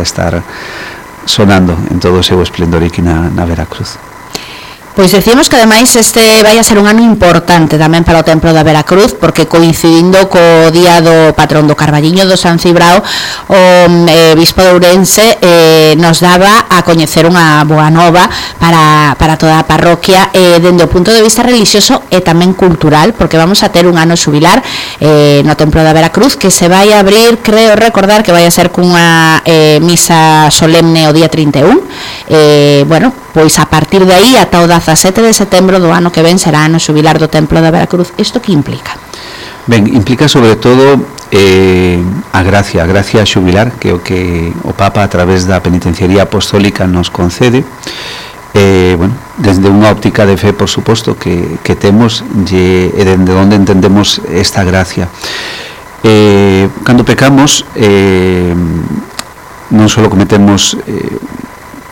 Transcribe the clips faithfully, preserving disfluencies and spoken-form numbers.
estar sonando en todo o seu esplendor aquí na, na Veracruz. Pois decimos que ademais este vai a ser un ano importante tamén para o Templo da Veracruz, porque coincidindo co día do patrón do Carballiño do San Cibrao, o eh, bispo de Ourense eh, nos daba a coñecer unha boa nova para, para toda a parroquia eh, dende o punto de vista religioso e tamén cultural, porque vamos a ter un ano xubilar eh, no Templo da Veracruz que se vai a abrir, creo recordar que vai a ser cunha eh, misa solemne o día trinta e un, eh, bueno, pois a partir de aí ata o dezasete de setembro do ano que ven será ano xubilar do Templo da Veracruz. Isto que implica? Ben, implica sobre todo eh, a gracia, a gracia xubilar, que é o que o Papa a través da penitenciaría apostólica nos concede, eh, bueno, desde unha óptica de fe, por suposto, que, que temos e dende onde entendemos esta gracia. Eh, cando pecamos, eh, non só cometemos eh,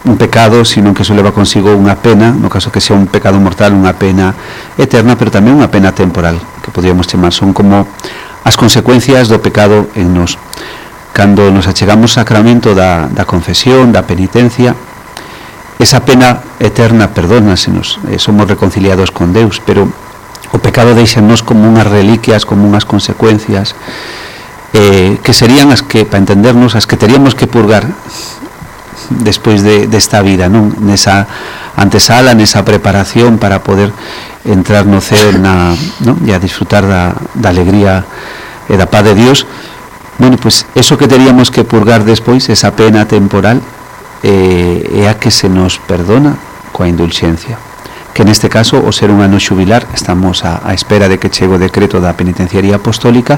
un pecado, sino que eso leva consigo unha pena, no caso que sea un pecado mortal, unha pena eterna, pero tamén unha pena temporal, que podríamos chamar, son como as consecuencias do pecado en nos. Cando nos achegamos ao sacramento da, da confesión, da penitencia, esa pena eterna perdónasenos, eh, somos reconciliados con Deus, pero o pecado deixanos como unhas reliquias, como unhas consecuencias, eh, que serían as que, para entendernos, as que teríamos que purgar despois de, desta vida, non? Nesa antesala, nesa preparación para poder entrar no ceo na, non? E a disfrutar da, da alegría e da paz de Dios. Bueno, pues eso que teríamos que purgar despois, esa pena temporal, eh, é a que se nos perdona coa indulxencia, que neste caso, o ser un ano xubilar, estamos a, a espera de que chegue o decreto da penitenciaría apostólica,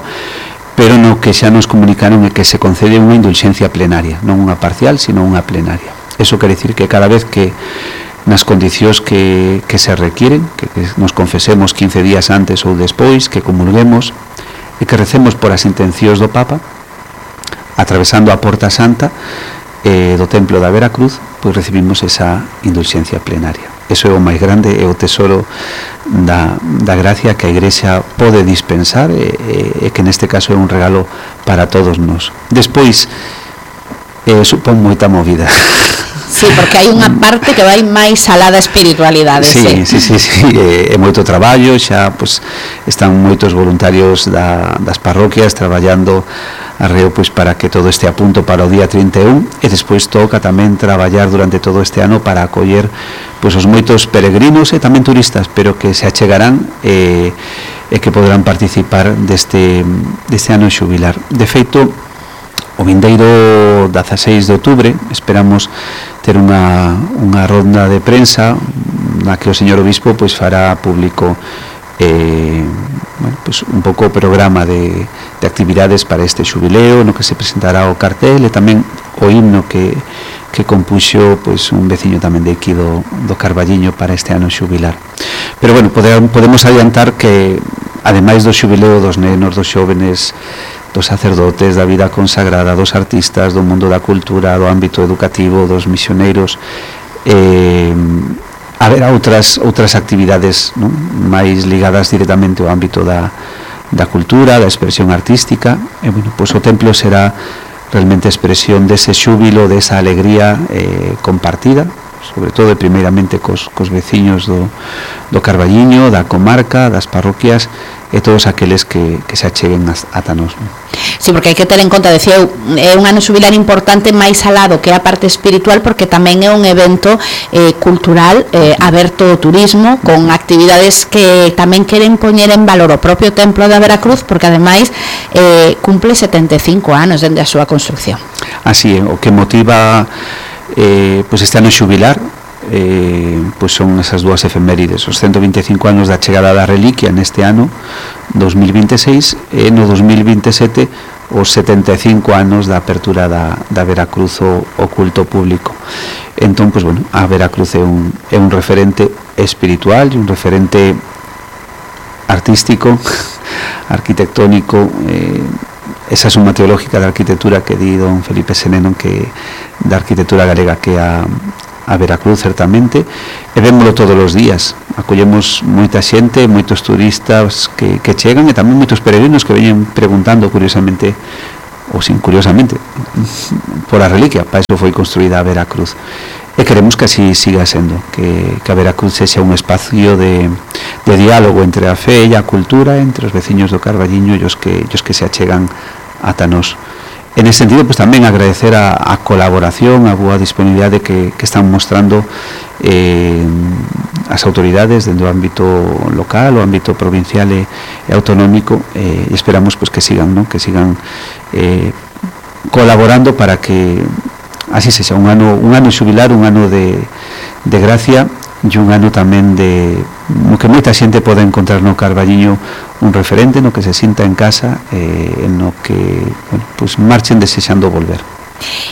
pero no que xa nos comunicaron é que se concede unha indulxencia plenaria, non unha parcial, sino unha plenaria. Eso quere dicir que cada vez que nas condicións que, que se requieren, que, que nos confesemos quince días antes ou despois, que comulguemos e que recemos por as intencións do Papa, atravesando a Porta Santa eh, do Templo da Veracruz, pois recibimos esa indulxencia plenaria. Eso é o máis grande, é o tesoro da, da gracia que a Igrexa pode dispensar e, e, e que neste caso é un regalo para todos nós. Despois, eh, supón moita movida. Sí, porque hai unha parte que vai máis alá da espiritualidade. Sí, sí, sí, sí, é, é moito traballo, xa pues, están moitos voluntarios da, das parroquias traballando arreo pois para que todo este a punto para o día trinta e un, e despois toca tamén traballar durante todo este ano para acoller pois os moitos peregrinos e tamén turistas, pero que se achegarán e, e que poderán participar deste, deste ano xubilar. De feito, o vindeiro dezaseis de outubro esperamos ter unha, unha ronda de prensa na que o señor obispo pois fará público eh, bueno, pues un pouco o programa de, de actividades para este xubileo, no que se presentará o cartel e tamén o himno que, que compuxo pues, un veciño tamén de aquí do, do Carballiño para este ano xubilar. Pero bueno, podemos, podemos adiantar que ademais do xubileo dos nenos, dos xóvenes, dos sacerdotes, da vida consagrada, dos artistas, do mundo da cultura, do ámbito educativo, dos misioneiros, eh, haberá outras outras actividades, non? máis ligadas directamente ao ámbito da, da cultura, da expresión artística, e bueno, pois o templo será realmente expresión dese xúbilo, desa alegría eh, compartida, sobre todo e primeiramente cos, cos veciños do, do Carballiño, da comarca, das parroquias e todos aqueles que, que se acheguen ata nós. Sí, porque hai que ter en conta, decía eu, é un ano xubilar importante máis alado que a parte espiritual, porque tamén é un evento eh, cultural eh, aberto ao turismo, con actividades que tamén queren poñer en valor o propio Templo da Veracruz, porque ademais eh, cumple setenta e cinco anos dende a súa construcción. Así é, o que motiva eh, pues este ano xubilar eh, pues son esas dúas efemérides, os ciento vinte e cinco anos da chegada da reliquia neste ano dos mil vinte e seis e no dos mil vinte e sete os setenta e cinco anos da apertura da, da Veracruz o, o culto público. Entón, pues bueno, a Veracruz é un, é un referente espiritual e un referente artístico, arquitectónico, eh, esa suma teológica da arquitectura que di don Felipe Seneno, que da arquitectura galega, que a a Veracruz certamente, e vémolo todos os días, acollemos moita xente, moitos turistas que, que chegan e tamén moitos peregrinos que veñen preguntando curiosamente ou sin curiosamente por a reliquia, para eso foi construída a Veracruz. E queremos que así siga sendo, que, que a Veracruz sexa un espacio de, de diálogo entre a fe e a cultura, entre os veciños do Carballiño e os que, os que se achegan ata nós. En ese sentido, pues tamén agradecer a, a colaboración, a boa disponibilidade que, que están mostrando eh, as autoridades dentro do ámbito local, o ámbito provincial e, e autonómico, eh, e esperamos pues que sigan, ¿no? que sigan eh, colaborando para que así sexa un ano, un ano xubilar, un ano de, de gracia e un ano tamén de no que moita xente pode encontrar no Carballiño un referente, no que se sinta en casa, eh, no que bueno, pues marchen desexando volver.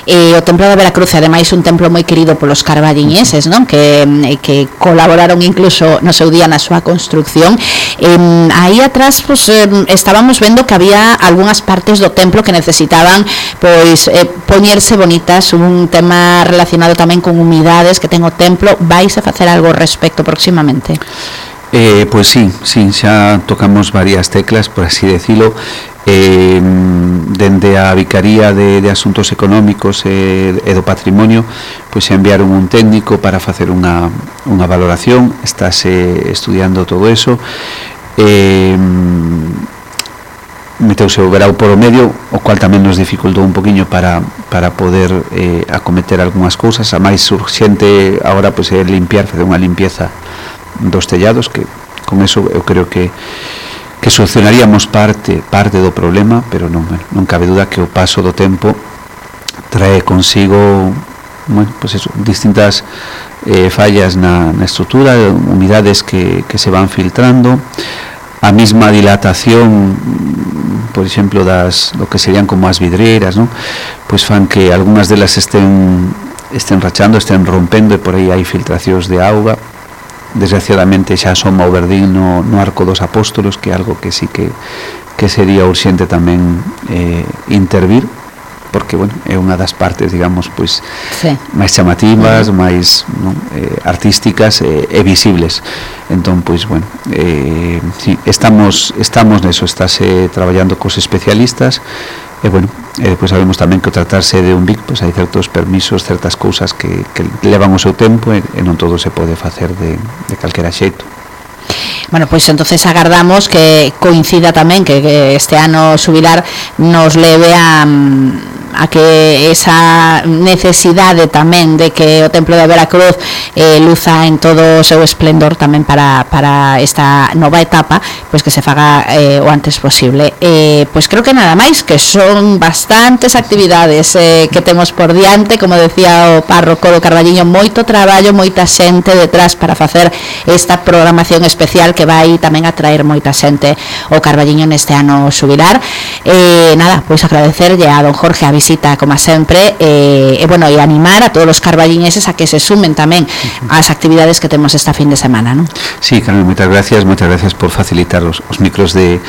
E o Templo da Veracruz é ademais un templo moi querido polos carballiñeses, non? Que, que colaboraron incluso no seu día na súa construcción. Eh, aí atrás pues, eh, estábamos vendo que había algunhas partes do templo que necesitaban pois eh, poñerse bonitas, un tema relacionado tamén con humidades que ten o templo. Vais a facer algo ao respecto próximamente? Eh, pues sí, sí, xa tocamos varias teclas, por así decirlo. Eh, dende a Vicaría de, de Asuntos Económicos e, e do Patrimonio pois enviaron un técnico para facer unha, unha valoración, estáse estudiando todo eso, eh, meteuse o verao por o medio, o cual tamén nos dificultou un poquinho para, para poder eh, acometer algunhas cousas. A máis urxente agora pois, é limpiar, facer unha limpieza dos tellados, que con eso eu creo que que solucionaríamos parte parte do problema, pero non, non cabe duda que o paso do tempo trae consigo bueno, pues eso, distintas eh, fallas na, na estrutura, humidades que, que se van filtrando, a mesma dilatación, por exemplo, das do que serían como as vidreiras, ¿no? Pois fan que algunhas delas estén estén rachando, estén rompendo, e por aí hai filtracións de auga. Desgraciadamente xa asoma o verdín no, no Arco dos Apóstolos, que é algo que sí que, que sería urxente tamén eh, intervir, porque bueno, é unha das partes, digamos, pois sí, máis chamativas, uh-huh. máis non, eh, artísticas e eh, visibles. Entón, pois bueno, eh, sí, estamos estamos neso, estáse traballando cos especialistas. E bueno, e depois sabemos tamén que ao tratarse de un B I C, pois hai certos permisos, certas cousas que, que levan o seu tempo, e, e non todo se pode facer de, de calquera xeito. Bueno, pois entonces agardamos que coincida tamén que, que este ano xubilar nos leve a, a que esa necesidade tamén de que o Templo de Veracruz eh, luza en todo o seu esplendor tamén para, para esta nova etapa, pois que se faga eh, o antes posible. Eh, pois creo que nada máis, que son bastantes actividades eh, que temos por diante, como decía o párroco do Carballiño, moito traballo, moita xente detrás para facer esta programación especial que vai tamén atraer moita xente ao Carballiño neste ano xubilar. Eh, nada, pois agradecerlle a don Jorge a visita como sempre, eh, e bueno, e animar a todos os carballiñeses a que se sumen tamén ás actividades que temos esta fin de semana, non? Sí, Carmen, moitas gracias, moitas gracias por facilitar os, os micros de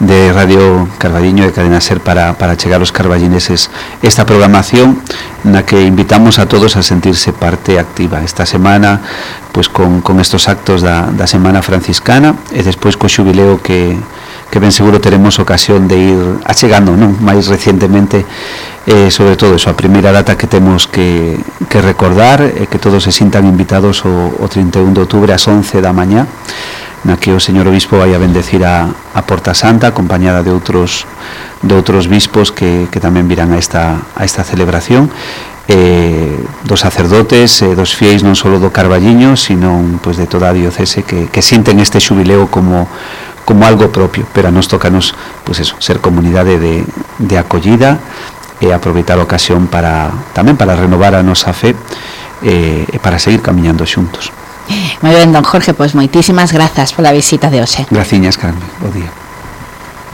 de Radio Carballiño e Cadena Ser para, para chegar aos carballineses esta programación na que invitamos a todos a sentirse parte activa esta semana, pois con, con estos actos da, da Semana Franciscana, e despois co xubileo que, que ben seguro teremos ocasión de ir achegando, non? máis recientemente, eh, sobre todo eso, a primeira data que temos que, que recordar, e eh, que todos se sintan invitados o, o trinta e un de outubro ás once da mañá, na que o señor obispo vai a bendecir a, a Porta Santa, acompañada de outros de outros bispos que, que tamén virán a esta, a esta celebración, eh, dos sacerdotes, eh, dos fieis non só do Carballiño, sino pues, de toda a diocese que, que sinten este xubileo como, como algo propio, pero a nos tocanos pues eso, ser comunidade de, de acollida e aproveitar a ocasión para tamén para renovar a nosa fe eh, e para seguir camiñando xuntos. Moi ben, don Jorge, pois moitísimas grazas pola visita de hoxe. Graciñas, Carmen, bo día.